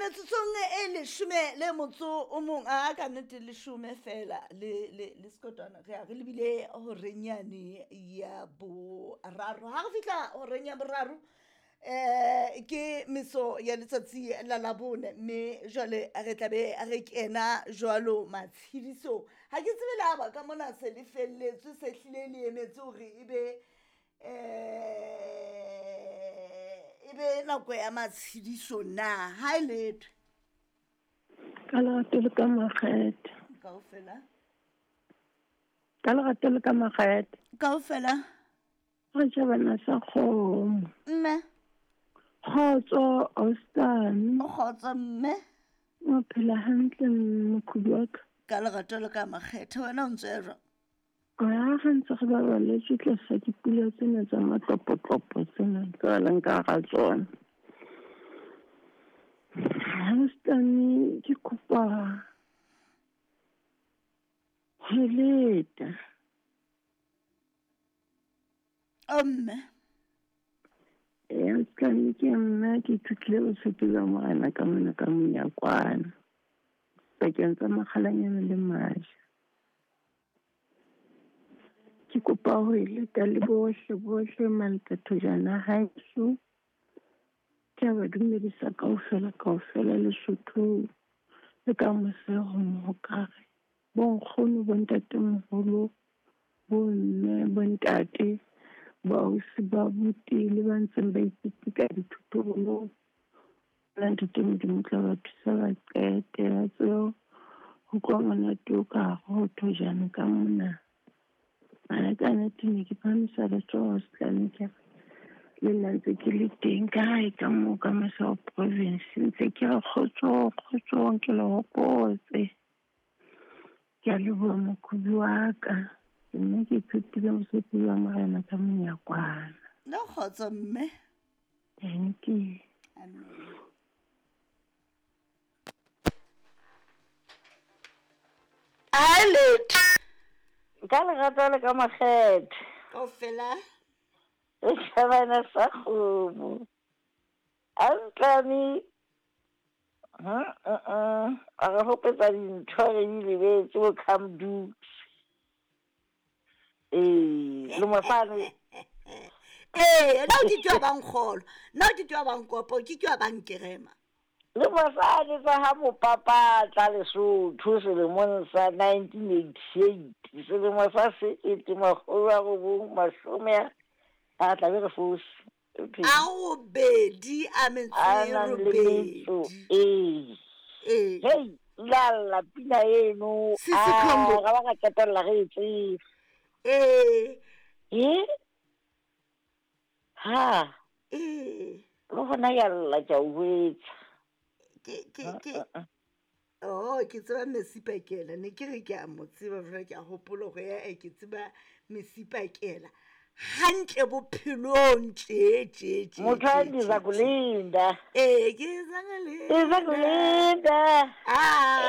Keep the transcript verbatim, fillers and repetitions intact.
Metsotsong e leshome le motso o mong a ka nnete leshome fela le le le sekotwana re ya re lebile horeng yane ya boraro. Ha re fihla horeng ya boraro eh ke meso ya letsatsi la Labone, mme jwale re tlabe re kena jwalo matshedisong. Ha ke tsebe le ha ba ka mona se le felletswe, se hlile le emetse hore ebe eh ebe nako ya matshediso na. Ha e letho Ka lerato le ka makgethe. Kaofela. Ka lerato le ka makgethe. Kaofela. Re tjhabana sa kgomo. Mme. Kgotso Austin. O kgotso mme. O phela hantle mokhudu wa ka. Ka lerato le ka makgethe, wena o ntse jwang? Ha re ntse re babaletswe tlasa dipula tsena tsa matlopotlopo tsena tse re leng ka hara tsona. Austin, ke kopa ho leta. O mme. Ee, Austin, ke nna ke ithutile botshepi ba Morena ka mona ka monyakwana pakeng tsa Makgalanyana le Maja. Ke kopa ho e leta le bohle bohle Malpethojana haeso. Ke a ba dumedisa kaofela kaofela Lesotho le ka mose ho Mohokare. Bo nkgono, bo ntatemoholo, bo mme, bo ntate, baausi, ba abuti le ba ntseng ba ipitika dithotobolo. La ntate Modimo tla ba thusa ba qete ba tsebe ho utlwa monate o ka hare ho thojana ka mona. Mara ka nnete ne ke phahamisa letsoho setlane ke re le nna ntse ke le teng ka hae ka moo ka mose ho province. Ntse ke re kgotsong kgotsong ke le hopotse. Ke a leboha mokhubi wa ka. Mme ke ithutile mosebetsi wa Morena ka monyakwana. Le kgotso mme. Thank you. Amen. Ha letho. Ka lerato le ka makgethe. Kaofela. E tjhabana sa kgomo. Antlane. Ha a a re hopetsa dintho re di lebetse bo Camdux. Ee, le mosane. Ee, nna ke twa bang kgolo. Nna ke twa bang kopo, ke twa bang kerema. Le mosane tsa ha mopapa tla Lesotho selemong sa nineteen eighty-eight, selemo sa sekete makgolo a robong mashome a tla be re fose. A robedi a metso e robedi. Ee. Ee. Hey, la la pina eno. Sisi Khombo. Ga ba ka qetella re e tseba. Ee. E? Ha. Ee. Le hona ya lla ke a o jwetsa. Ke ke ke oh ke tseba Mesipakela, ne ke re ke a mo tseba jwale ke a hopola hore ya e ke tseba Mesipakela hantle bophelong tje tje tje. Motho a ndiza kulinda. Ee, ke za kulinda. Ndiza kulinda. Ah.